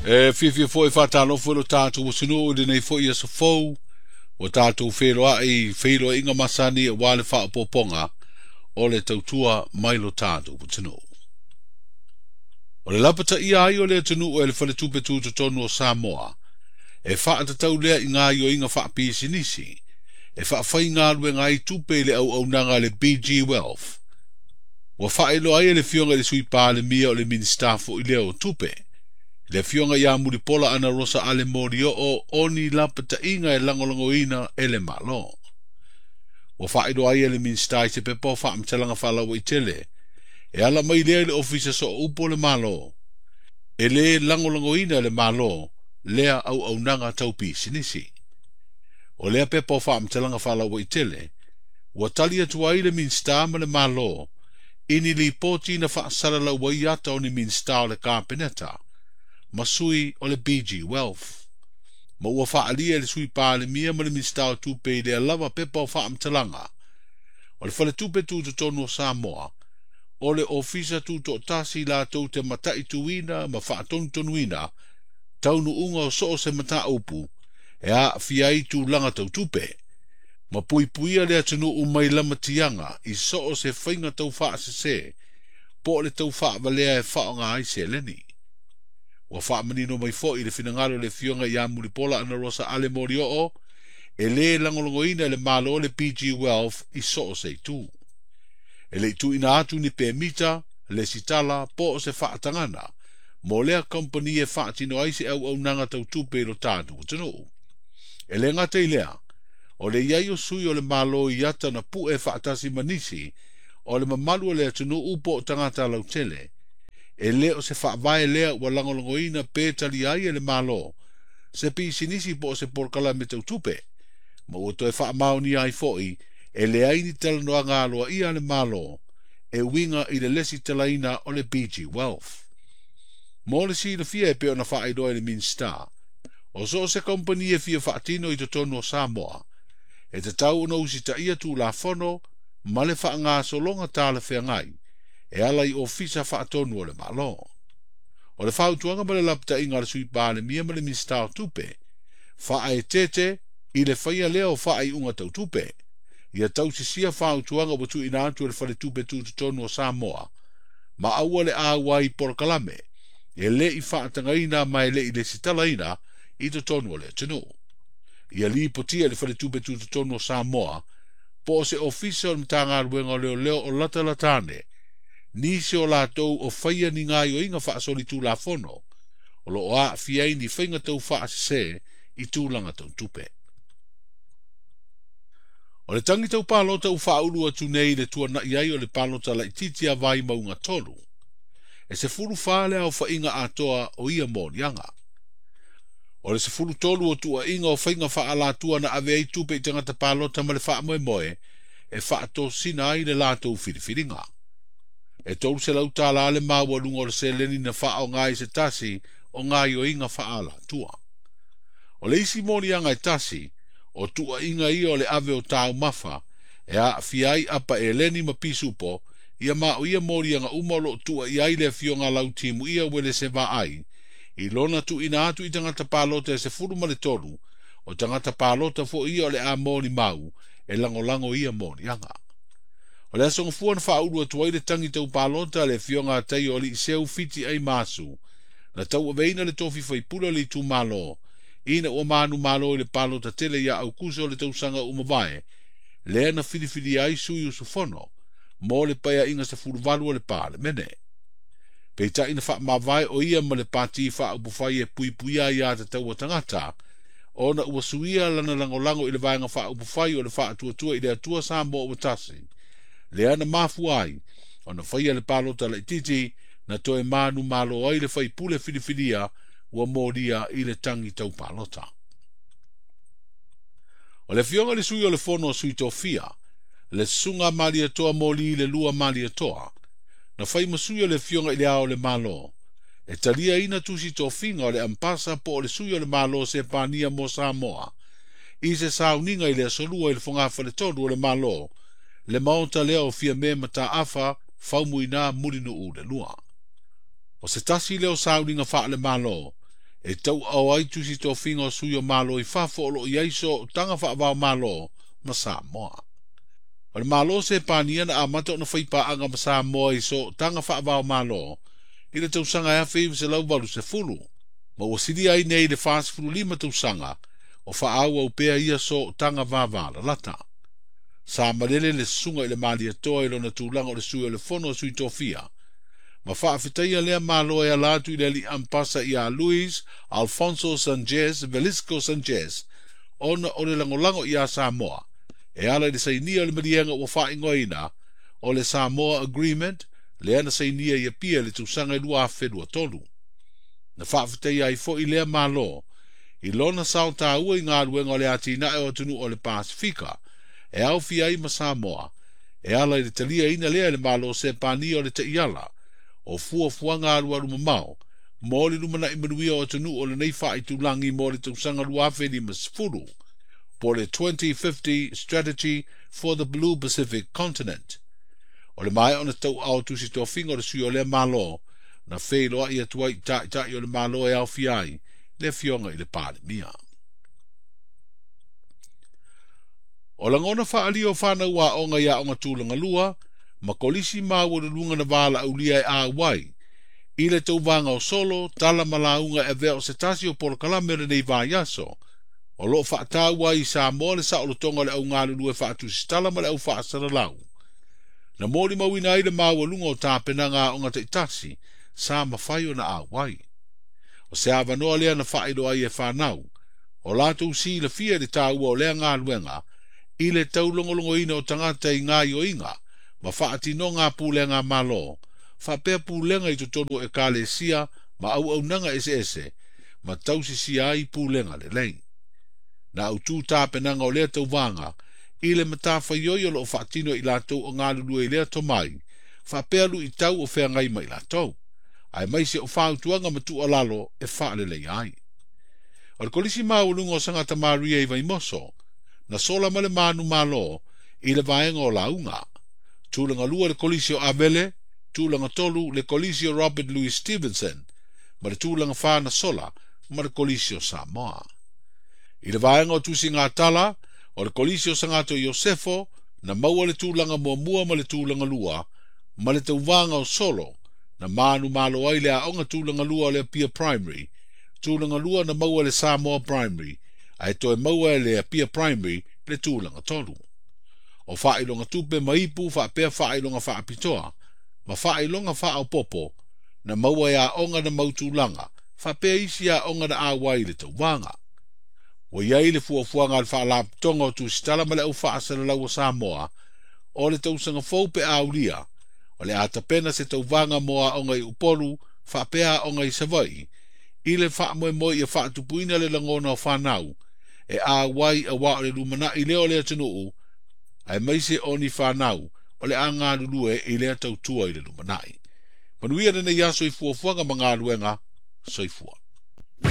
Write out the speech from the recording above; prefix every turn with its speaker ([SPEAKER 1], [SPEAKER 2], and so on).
[SPEAKER 1] E fiafia foi e faatalofa i lo tatou atunuu i lenei foi aso fou ua tatou feloai i feiloaiga masani aua le faaopoopoga o le tautua mai lo tatou atunuu. O le lapataia ai o le atunuu e le Faletupe Tutotonu o Samoa, e faatatau lea i gaoioiga faapisinisi, e faafaigaluega ai tupe i le auaunaga a le BG Wealth. Ua faailoa ai e le Afioga i le Sui Palemia o le Minisita foi lea o Tupe, le Afioga ia Mulipola Anarosa Ale Molioo o ni lapataiga e lagolagoina e le Malo. Ua faailoa ai e le Minisita i se pepa o faamatalaga faalauaitele, e ala mai lea i le Ofisa Sooupu o le Malo, e lē lagolagoina e le Malo lea auaunaga tau pisinisi. O lea pepa o faamatalaga faalauaitele, ua tali atu ai le Minisita ma le Malo i ni lipoti na faasalalau ai ata o ni Minisita o le Kapeneta ma sui o le BG Wealth. Ma ua faaalia e le Sui Palemia ma le Minisita o Tupe i lea lava pepa o faamatalaga, o le Faletupe Tutotonu o Samoa, o le Ofisa Tutoatasi latou te mataituina ma faatonutonuina taunuuga o so o se mataupu e aafia ai tulaga tau tupe, ma puipuia le atunuu mai lamatiaga i so o se faiga tau faasese po o le tau faavalea e faaaoga ai seleni. Ua faamanino mai foi i le finagalo o le Afioga ia Mulipola Anarosa Ale Molioo, e lē lagolagoina e le Malo le BG Wealth i so o se itu. E le i tuuina atu ni pemita, lesitala po o se faatagana mo lea kompani e faatino ai se auaunaga tau tupe i lo tatou atunuu. E le gata i lea, o le i ai o sui o le Malo i ata na pue faatasi ma nisi o le mamalu o le atunuu po o tagata lautele, e lē o se faavae lea ua lagolagoina pe talia ai e le Malo se pisinisi po o se polokalame tau tupe, ma ua toe faamaonia ai foi e leai ni talanoaga aloaia a le Malo e uiga i le lesitalaina o le BG Wealth. Mo le silafia e pei ona faailoa e le Minisita, o so o se kompani e fia faatino i totonu o Samoa, e tatau ona usitaia Tulafono ma le faagasologa talafeagai e ala i Ofisa Faatonu o le Malo. O le fautuaga ma le lapataiga a le Sui Palemia ma le Minisita o Tupe, faaeteete i le faia lea o faaiuga tau tupe, ia tausisia fautuaga ua tuuina atu e le Faletupe Tutotonu o Samoa, ma aua le auai i polokalame e le i faatagaina ma e le i lesitalaina i totonu o le atunuu. Ia lipotia e le Faletupe Tutotonu o Samoa po o se Ofisa o le Matagaluega o Leoleo o latalata ane, nisi o latou o faia ni gaoioiga faasolitulafono o lo o aafia ai ni faiga tau faasese i tulaga tau tupe. O le tagi tau palota ua faaulu atu nei i le tuanai ai o le palota laitiiti a Vaimauga 3, e 14 le aofaiga atoa o ia moliaga. O le 13 o tuuaiga o faiga faaalatua na ave ai tupe i tagata palota ma le faamoemoe e faatosina ai le latou filifiliga. E $300 le maualuga o le seleni na faaaoga ai se tasi o gaoioiga faaalatua. O le isi moliaga e tasi, o tuuaiga ia o le ave o taumafa e aafia ai apa eleni ma pisupo, ia ma o ia moliaga uma o loo tuuaia ai le Afioga Lautimuia Uelese Vaai, i lona tuuina atu i tagata palota e 13, o tagata palota foi ia o le a molimau e lagolago ia moliaga. O le aso Gafua na faaulu atu ai le tagi tau palota a le Afioga a Taio Aliiseu Fiti Ai Masu, na tauaveina le tofi faipule o le itumalo, ina ua manumalo i le palota tele ia Aukuso o le tausaga ua mavae, lea na filifilia ai sui usufono mo le paeaiga 18 o le Palemene. Peitai na faamavae o ia ma le pati faaupufai e puipuia ai atatau a tagata, ona ua suia lana lagolago i le vaega faaupufai o le faatuatua i le Atua Samoa ua tasi, lea na mafua ai ona faia le palota laitiiti na toe manumalo ai le faipule filifilia ua molia i le tagi tau palota. O le Afioga i le Sui o le Fono a Sui Tofia, le Susuga Malietoa Moli le Lua Malietoa, na fai ma sui o le Afioga i le Ao o le Malo, e taliaina tusi tofiga o le Ampasa po o le Sui o le Malo Sepania mo Samoa, i se sauniga i le aso Lua i le Fogafaletolu o le Malo, le maota lea o Fiame Mataafa Faumuina Mulinuu le Lua. O se tasi lea o sauniga faale-Malo, e tauaao ai tusi tofiga o sui o Malo i fafo o loo i ai sootaga faava-o-Malo ma Samoa. O le Malo Sepania na amata ona faipaaga ma Samoa i sootaga faava-o-Malo i le tausaga 1980, ma ua silia ai nei le 45 tausaga o faaauau pea ia sootaga vavalalata. Sa malele le susuga i le Malietoa i lona tulaga o le sui o le Fono a Sui Tofia, ma faafetaia lea Malo e ala atu i le alii ampasa ia Luis Alfonso Sanchez Velisco Sanchez ona o le lagolago iā Samoa e ala i le sainia o le maliega ua faaigoaina o le Samoa Agreement lea na sainia i Apia i le tausaga 2023. Na faafetaia ai foi lea Malo i lona sao taua i galuega o le atinae o atunuu o le Pasefika e aofia ai ma Samoa e ala i le taliaina lea e le Malo Sepania o le taiala o fuafuaga alualu mamao mo le lumanai manuia o atunuu o lenei faaitulagi mo le tausaga 2050 po le 2050 Strategy for the Blue Pacific Continent. O le maea ona tauaao tusi tofiga o le sui o lea Malo na feiloai atu ai i taitai o le Malo e aofia ai le afioga i le Palemia. O lagona faaalia o fanau aoga i aoga tulaga lua ma kolisi maualuluga na valaaulia e auai i le tauvaga o solo, tala ma lauga e avea o se tasi o polokalame o lenei vaiaso o loo faataua ai i Samoa le saolotoga o le au galulue faatusitala ma le au faasalalau. Na molimauina ai le maualuga o tapenaga aoga taitasi sa mafai ona auai. O se avanoa lea na faailoa ai e fanau o latou silafia i le taua o lea galuega i le taulogologoina o tagata i gaoioiga ma faatinoga a pulega a Malo, faapea pulega i totonu o ekalesia ma auaunaga eseese ma tausisia ai pulega lelei. Na autu tapenaga o lea tauvaga i le matafaioi o loo faatino i latou o galulue i lea tomai, faapea luitau o feagai ma i latou, aemaise o fautuaga ma tuualalo e faaleleia ai. O le kolisi maualuga o Sagata Maria i Vaimoso, na sola ma le manumalo i le vaega o lauga. Tulaga lua le kolisi o Avele, tulaga tolu le kolisi o Robert Louis Stevenson, ma le tulaga fa na sola ma le kolisi o Samoa. I le vaega o tusigatala, o le kolisi o Sagato Iosefo na maua le tulaga muamua ma le tulaga lua, ma le tauvaga o solo na manumalo ai le aoga tulaga lua o le Apia Primary, tulaga lua na maua le Samoa Primary, ae toe maua e le Apia Primary le tulaga tolu. O faailoga tupe ma ipu faapea faailoga faapitoa ma faailoga faaopoopo na maua e aoga na mautulaga faapea isi aoga na auai i le tauvaga. Ua i ai le fuafuaga a le Faalapotopotoga o Tusitala ma le Au Faasalalau o Samoa o le tausaga fou pe aulia o le a tapena se tauvaga mo aoga i Upolu faapea aoga i Savaii i le faamoemoe ia faatupuina le lagona o fanau e auai auā o le lumanai lea o le atunuu aemaise o ni fanau o le a galulue i lea tautua i le lumanai. Manuia lenei aso i fuafuaga ma galuega. Soifua.